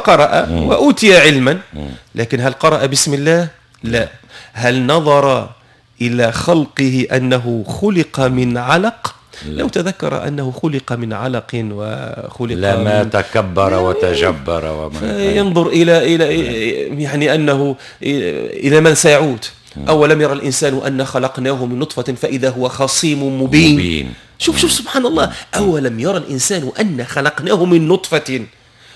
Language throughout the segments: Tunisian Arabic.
قرأ وأوتي علما، لكن هل قرأ بسم الله؟ لا. هل نظر إلى خلقه أنه خلق من علق؟ لا. لو تذكر أنه خلق من علق وخلق لما تكبر وتجبر وما ينظر إلى يعني أنه إلى من سيعود. أولم يرى الإنسان أن خلقناه من نطفة فإذا هو خصيم مبين. شوف شوف سبحان الله، أولم يرى الإنسان أن خلقناه من نطفة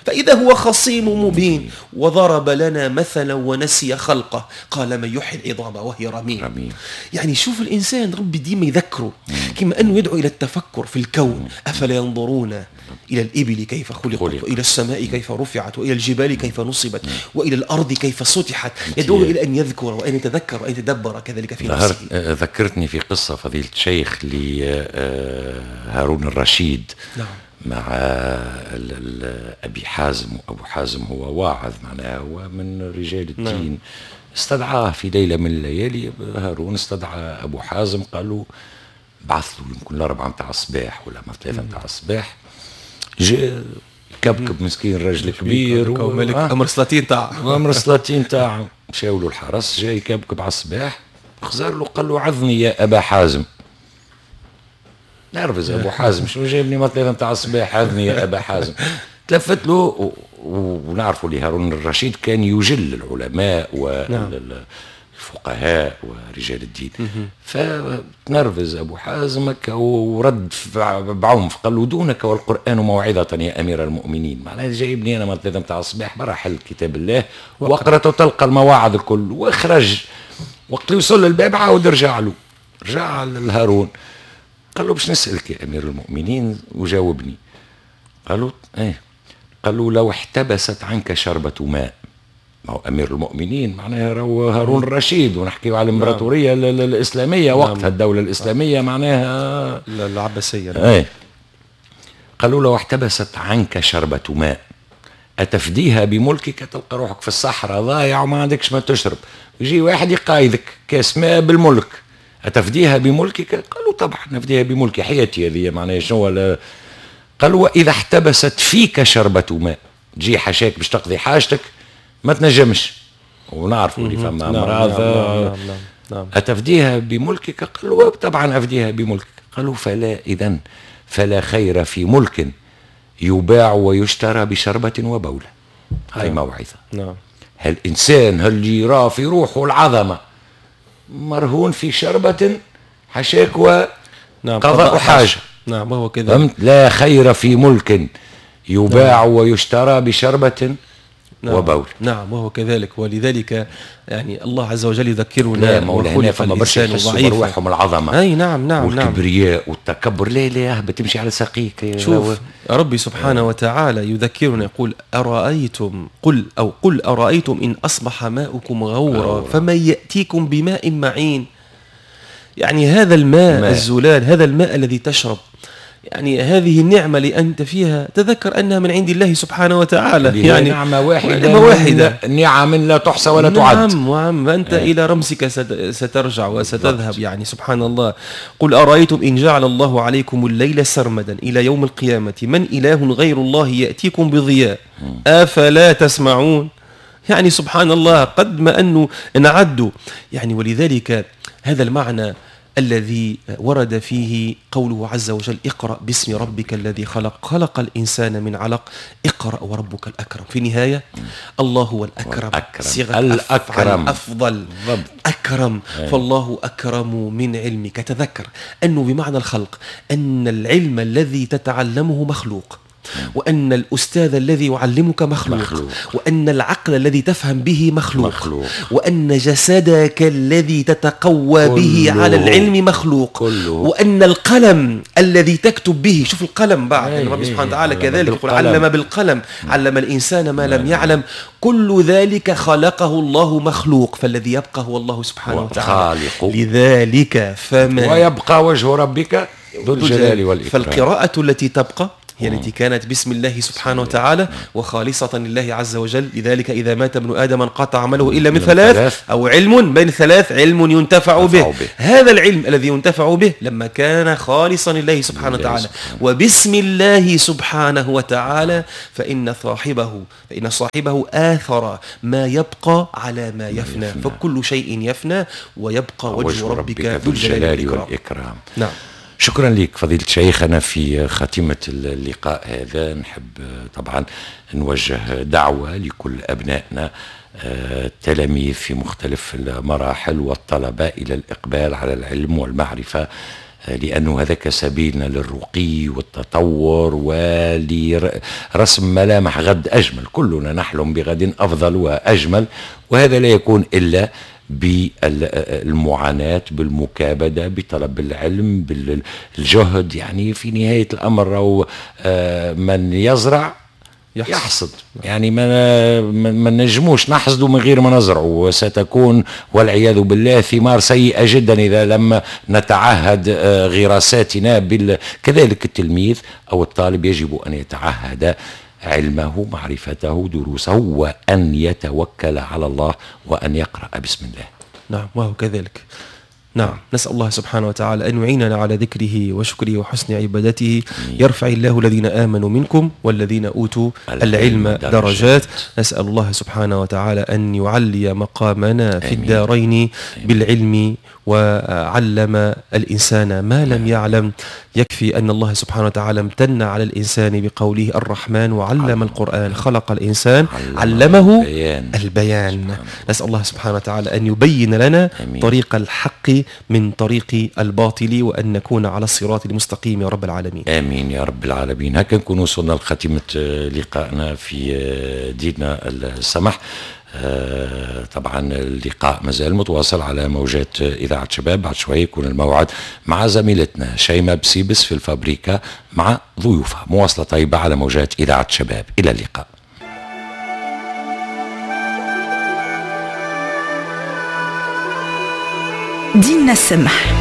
فإذا هو خصيم مبين وضرب لنا مثلا ونسي خلقه قال من يحيي العظام وهي رميم. يعني شوف الإنسان ربي ديما يذكره، كما أنه يدعو إلى التفكر في الكون. أفلا ينظرون إلى الإبل كيف خلقت وإلى السماء كيف رفعت وإلى الجبال كيف نصبت وإلى الأرض كيف سطحت. يدعو إلى أن يذكر وأن يتذكر وأن يتدبر كذلك في نفسه. ذكرتني في قصة فضيلة الشيخ لهارون الرشيد. نعم. مع أبي حازم، وأبو حازم هو واعظ معناها هو من رجال الدين. نعم. استدعاه في ليلة من الليالي هارون، استدعى أبو حازم، قالوا بعث له يمكن 4 متاع الصباح ولا 3 متاع الصباح. جاء كبكب مسكين رجل كبير ملك أمر سلاطين تاعه، أمر سلاطين تاعه. مشاو له الحرس، جاي كبكب على الصباح، خزر له قال له عظني يا أبا حازم. نرفز ابو حازم، شنو جايبني ما 3 نتاع الصباح عظني يا ابا حازم. تلفت له، ونعرفوا اللي هارون الرشيد كان يجل العلماء والفقهاء ورجال الدين. فتنرفز ابو حازم ورد بعنف، قال له دونك والقران موعظة يا امير المؤمنين. معناها جايبني انا ما 3 نتاع الصباح، برا حل كتاب الله واقرا تلقى المواعظ الكل. واخرج وقت اللي وصل للباب عاود رجع له، رجع لهارون قال له باش نسألك يا أمير المؤمنين وجاوبني. قالوا ايه. قالوا لو احتبست عنك شربة ماء. ما هو أمير المؤمنين معناها هارون الرشيد، ونحكيو على الإمبراطورية الإسلامية وقتها، الدولة الإسلامية معناها العباسية. ايه. قالوا لو احتبست عنك شربة ماء أتفديها بملكك؟ تلقى روحك في الصحراء ضايع وما عندكش ما تشرب، يجي واحد يقايدك كاس ماء بالملك، أتفديها بملكك؟ قالوا طبعا نفديها بملكي، حياتي هذه معناها شنو. قالوا وإذا احتبست فيك شربة ماء، تجي حشاك باش تقضي حاجتك ما تنجمش، ونعرفوا اللي فما أمراض. نعم نعم نعم. أتفديها بملكك؟ قالوا طبعا أفديها بملكك. قالوا فلا، إذن فلا خير في ملك يباع ويشترى بشربة وبولة. هاي نعم. موعظة. نعم. هالإنسان اللي يرى في روحه العظمة مرهون في شربة حشاك وقضاء حاجة. نعم وهو كذا. لا خير في ملك يباع نعم. ويشترى بشربة نعم. وبول. نعم وهو كذلك. ولذلك يعني الله عز وجل يذكرنا. لا مولانا فما برشا يحسوا بروحهم العظمة. أي نعم نعم والكبرياء نعم. والتكبر. لا لا بتمشي على ساقيك. شوف ربي سبحانه وتعالى يذكرنا يقول أرأيتم قل أو قل أرأيتم إن أصبح ماؤكم غورا فمن يأتيكم بماء معين. يعني هذا الماء الزلال، هذا الماء الذي تشرب، يعني هذه النعمة اللي أنت فيها تذكر أنها من عند الله سبحانه وتعالى. يعني نعمة واحدة، نعمة واحدة، نعم لا تحصى ولا تعد. نعم وعم أنت إلى رمسك سترجع وستذهب. يعني سبحان الله. قل أرأيتم إن جعل الله عليكم الليل سرمدا إلى يوم القيامة من إله غير الله يأتيكم بضياء أفلا تسمعون. يعني سبحان الله قد ما أنه نعد. يعني ولذلك هذا المعنى الذي ورد فيه قوله عز وجل اقرأ باسم ربك الذي خلق، خلق الإنسان من علق، اقرأ وربك الأكرم. في النهاية الله هو الأكرم، صيغة الأكرم أفضل بالضبط. أكرم. فالله أكرم من علمك. تذكر أنه بمعنى الخلق أن العلم الذي تتعلمه مخلوق، وأن الأستاذ الذي يعلمك مخلوق، وأن العقل الذي تفهم به مخلوق، وأن جسدك الذي تتقوى به على العلم مخلوق، وأن القلم الذي تكتب به. شوف القلم بعد الرب سبحانه وتعالى كذلك يقول علم بالقلم، علم الإنسان ما لم يعلم. كل ذلك خلقه الله مخلوق، فالذي يبقى هو الله سبحانه وتعالى. لذلك فما ويبقى وجه ربك ذو الجلال والإكرام. فالقراءة التي تبقى هي التي كانت بسم الله سبحانه وتعالى وخالصة لله عز وجل. لذلك إذا مات ابن آدم انقطع عمله إلا من ثلاث، أو علم بين ثلاث، علم ينتفع به. هذا العلم الذي ينتفع به لما كان خالصا لله سبحانه وتعالى وبسم الله سبحانه وتعالى، فإن صاحبه آثر ما يبقى على ما يفنى، فكل شيء يفنى ويبقى وجه ربك ذو الجلال والإكرام. نعم. شكرا لك فضيلة الشيخ. أنا في خاتمة اللقاء هذا نحب طبعا نوجه دعوة لكل أبنائنا التلاميذ في مختلف المراحل والطلبة إلى الإقبال على العلم والمعرفة، لأنه هذاك سبيلنا للرقي والتطور ولرسم ملامح غد أجمل. كلنا نحلم بغد أفضل وأجمل، وهذا لا يكون إلا بالمعاناة، بالمكابدة، بطلب العلم، بالجهد. يعني في نهاية الأمر أو من يزرع يحصد، يعني ما نجموش نحصدوا من غير ما نزرعوا، وستكون والعياذ بالله ثمار سيئة جدا إذا لم نتعهد غراساتنا. كذلك التلميذ أو الطالب يجب أن يتعهد علمه، معرفته، دروسه، وأن يتوكل على الله وأن يقرأ بسم الله. نعم، وهو كذلك. نعم، نسأل الله سبحانه وتعالى أن يعيننا على ذكره وشكره وحسن عبادته. يرفع الله الذين آمنوا منكم والذين أوتوا العلم درجات. نسأل الله سبحانه وتعالى أن يعلي مقامنا في الدارين بالعلم، وعلم الإنسان ما لم يعلم. يكفي أن الله سبحانه وتعالى امتن على الإنسان بقوله الرحمن وعلم القرآن، خلق الإنسان علمه البيان. نسأل الله سبحانه وتعالى أن يبين لنا طريق الحق من طريق الباطل، وأن نكون على الصراط المستقيم يا رب العالمين. آمين يا رب العالمين. هكا نكون وصلنا لخاتمة لقائنا في ديننا السمح. طبعا اللقاء مازال متواصل على موجات إذاعة شباب. بعد شوي يكون الموعد مع زميلتنا شيماء بسيبس في الفابريكا مع ضيوفها. مواصلة طيبة على موجات إذاعة شباب. إلى اللقاء. ديننا السمح.